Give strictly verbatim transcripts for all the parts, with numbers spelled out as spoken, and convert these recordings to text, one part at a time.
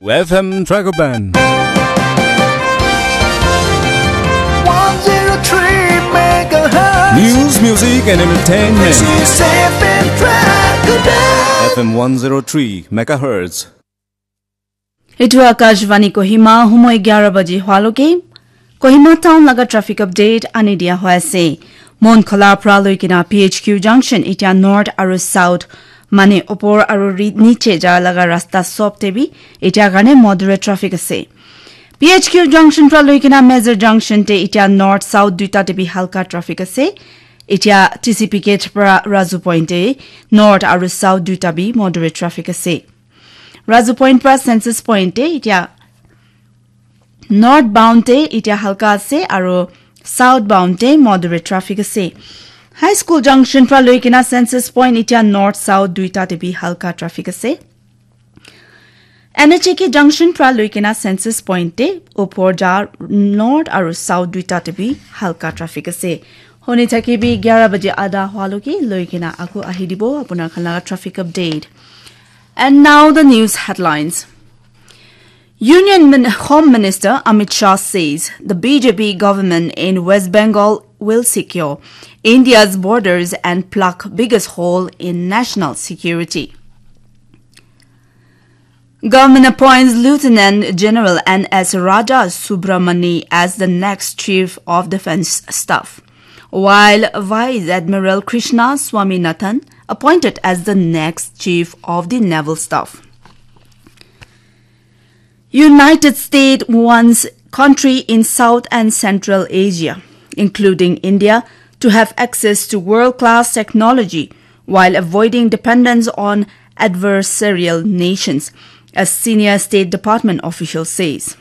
F M Dragoban. One zero three megahertz. News, music, and entertainment. This is F M Dragoban. F M one zero three megahertz. Etu Akashvani Kohima, humoi eghara baji hwaloke Kohima town laga traffic update ani dia hoi ase. Monkhola pra loi kena P H Q junction, etia north aru south, mane opor aru ri-, niche ja laga rasta sob te bi etia karne moderate traffic ase. P H Q junction pra loi kena Major junction te etia north south duita te bi halka traffic ase. Etia T C P gate pra Razu point te north aru south duita bi moderate traffic ase. Razu point pra Census point te etia north bound te etia halka ase aru south bound te moderate traffic ase. High School junction pra loi kena Census point etia north south duita te bi halka traffic ase. N H A K junction pra loi kena Census point te opor ja north aru south duita te bi halka traffic ase. Honi thaki bi eghara baji adha hwaloke loi kena aku ahi dibo apunar khan laga traffic update. And now the news headlines. Union Min-, Home Minister Amit Shah says the B J P government in West Bengal will secure India's borders and plug biggest hole in national security. Government appoints Lieutenant General N S Raja Subramani as the next Chief of Defence Staff, while Vice Admiral Krishna Swaminathan appointed as the next Chief of the Naval Staff. United States wants country in South and Central Asia, including India, to have access to world-class technology while avoiding dependence on adversarial nations, a senior State Department official says.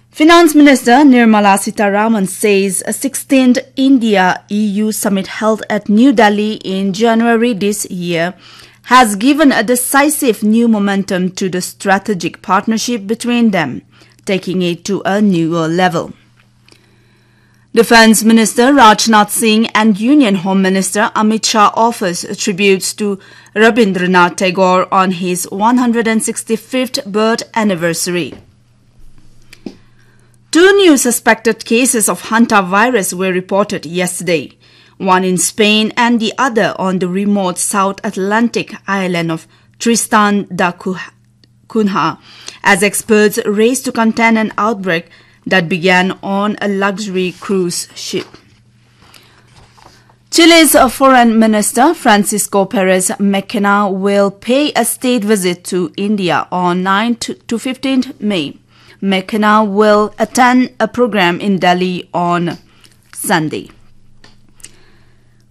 Finance Minister Nirmala Sitharaman says a sixteenth India E U summit held at New Delhi in January this year has given a decisive new momentum to the strategic partnership between them, taking it to a newer level. Defense Minister Rajnath Singh and Union Home Minister Amit Shah offers tributes to Rabindranath Tagore on his one hundred sixty-fifth birth anniversary. Two new suspected cases of hantavirus were reported yesterday, one in Spain and the other on the remote South Atlantic island of Tristan da Cu-, Cunha, as experts race to contain an outbreak that began on a luxury cruise ship. Chile's Foreign Minister Francisco Perez Mackenna will pay a state visit to India on ninth to fifteenth May. Mackenna will attend a program in Delhi on Sunday.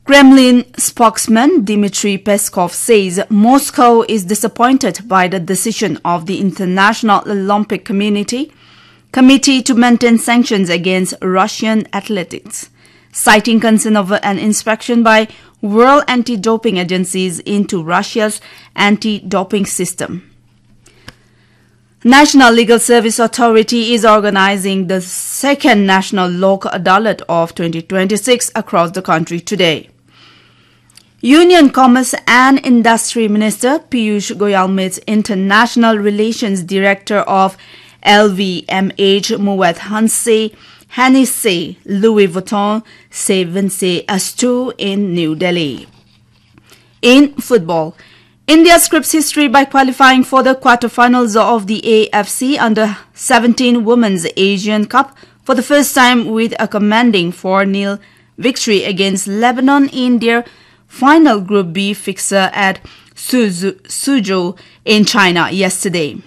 Kremlin spokesman Dmitry Peskov says Moscow is disappointed by the decision of the International Olympic Community Committee to maintain sanctions against Russian athletes, citing concern over an inspection by World Anti-Doping Agencies into Russia's anti-doping system. National Legal Service Authority is organizing the second National Lok Adalat of twenty twenty-six across the country today. Union Commerce and Industry Minister Piyush Goyal meets International Relations Director of L V M H Moet Hanse, Hennessy, Louis Vuitton, Se Vinse Astu in New Delhi. In football, India scripts history by qualifying for the quarterfinals of the A F C Under seventeen Women's Asian Cup for the first time with a commanding four nil victory against Lebanon in their final Group B fixture at Suzu-, Suzhou in China yesterday.